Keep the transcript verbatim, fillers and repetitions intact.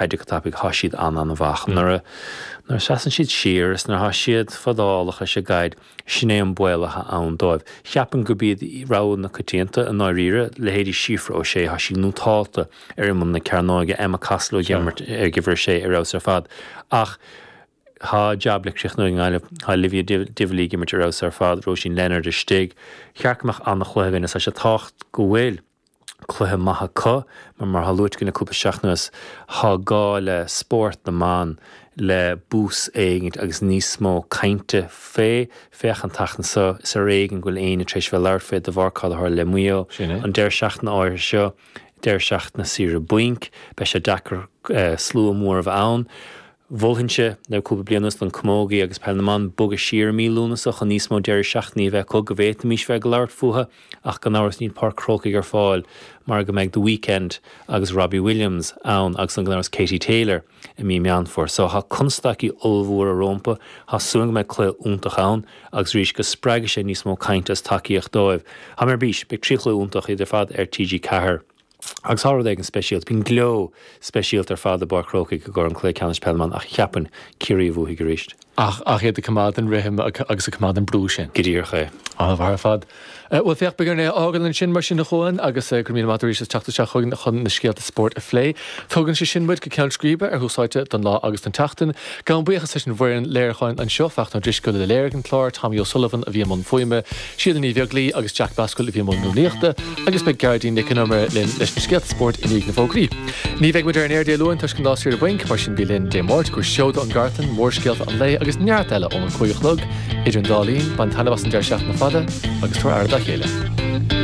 caide go tapaidh tá siad an-an-mhaith. Nuair nuair a seasann siad siar is nuair atá siad fadálach leis an gcaid, sin é an baol atá ann dóibh. Cheapfainn gurb iad rogha na coitianta i ndáiríre, leithéidí Síofra O'Shea, tá sí nótálta ar imeall na cearnóige, Emma Costello ag imirt ar uimhir a sé ar fheabhas ar fad. Ach tá jab le críochnú ag an nGaillimh, tá Olivia Divilly ag imirt ar fheabhas ar fad, Róisín Leonard istigh. Cheart go mbeadh an-chluiche againn is tá sé tábhachtach go bhfuil cluiche maith acu, mar mar atá luaite againn le cúpla seachtain anuas, tá gá le spórt na mban le bús éigint agus níos mó cainte fé. Féach an tseachtain seo, is ar éigean go bhfuil éinne tar éis bheith ag labhairt fé de bharr cad a tharla le Maigh Eo. An deireadh seachtaine áirithe seo, deireadh seachtaine saoire bainc, beidh sé deacair slua mór a bheith ann. Mholfainnse le cúpla bliain anuas don camógaí agus peil na mban bogadh siar i mí Lúnasa chun níos mó deireadh seachtainí a bheith acu go bhféadfaimis bheith ag labhairt fúthu ach gan amhras níl Páirc Chrócaigh ar fáil mar go mbeidh The Weeknd agus Robbie Williams ann agus an gan amhras Katie Taylor i mí Meán Fómhair. So tá constaicí ollmhóra rompu, tá súil go mbeidh cluiche iontach ann agus arís go spreagfaidh sé níos mó cainte is tacaíocht dóibh. Tá mé ar bís, beidh trí chluiche iontach iad ar fad ar TG Ceathair. Agus tá rud éigin speisialta, bíonn gleo speisialta ar fad i bPáirc Chrócaigh i gcomhair an cluiche ceannais peile na mban ach cheapfainn Ciarraí a bhuafaidh arís. Ach ach iad ag coimeád an rithim agus ag coimeád an brú sin. Go díreach é. An-mhaith ar fad. Bhuel féach, beidh orainn é a fhágáil ansin mar sin a Chuain agus go raibh míle maith arís as teacht isteach chugainn chun na scéalta spóirt a phlé. Tugann sé sin muid go ceann scríbe ar Thús Áite don lá agus don tseachtain. Gabhaim buíochas leis an bhfoireann léiriúcháin anseo, Fachtna Ó Drisceoil a léirigh an clár, Tommy O'Sullivan a bhí i mbun fuaime, Síle Ní Bheaglaoi agus Jack Basquill a bhí i mbun rúnaíochta, agus beidh Gearóidín Nic an Iomaire linn leis na scéalta spóirt i ndiaidh na bhfógraí. Ní bheidh muid ar an aer Dé Luain toisc an lá saoire bainc, mar sin bí linn Dé Máirt go seoda ón gcartlann, mórscéalta an lae agus neart eile óna cúig a chlog. Idir an dá linn, bain taitneamh as an deireadh seachtaine fada agus tabhair aire dá chéile.